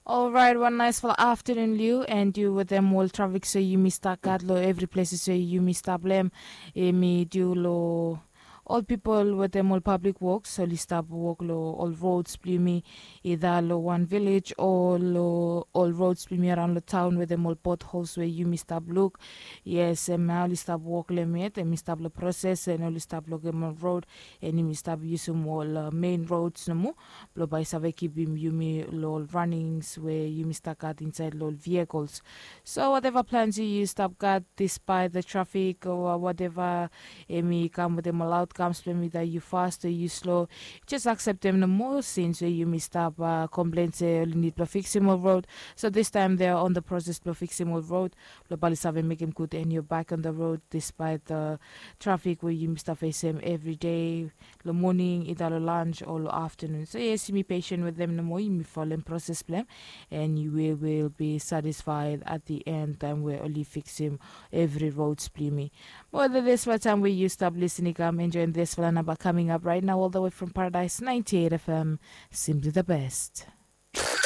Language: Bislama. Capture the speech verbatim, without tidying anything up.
Olrait, wan naisfala aftanun liu, and yu wetem ol trafik so yumi stap gat long evri ples so yumi stap long em. Em i diu long ol pipol wetem ol pablik woks oli stap wok long ol rods blong yumi, ida long wan vilej o long ol rods blong yumi araon long taon wetem ol pothols we yumi stap luk. Yes, em ya oli stap wok long em yet, em i stap long proses, and oli stap lokem ol rod, and yumi stap yusum ol mein rods nomo blong bae i save kipim yumi long ol ranings we yumi stap gat insaed long ol vehikols. So wateva plans yu stap gat, dispaet the trafik o wateva em i kam wetem ol aotkams blong em i dat yu fast o yu slo, jes akseptem nomo, sins we yumi stap komplen se oli nid blong fiksim ol rod. So distaem they are on the proses blong fiksim ol rod blong bae oli save mekem gud, and yu back on the road dispaet the trafik we yumi stap fesem evri dei, long moning, ida long lanj o long aftanun. So yes, yumi pesen wetem nomo, yumi folem proses blong em, and we will be satisfied at the end taem we oli fiksim evri rods blong yumi. Mo wetem disfala taem we yu stap lisin i kam enjoem disfala namba kaming ap right now, all the way from Paradise ninety-eight F M, simply the best.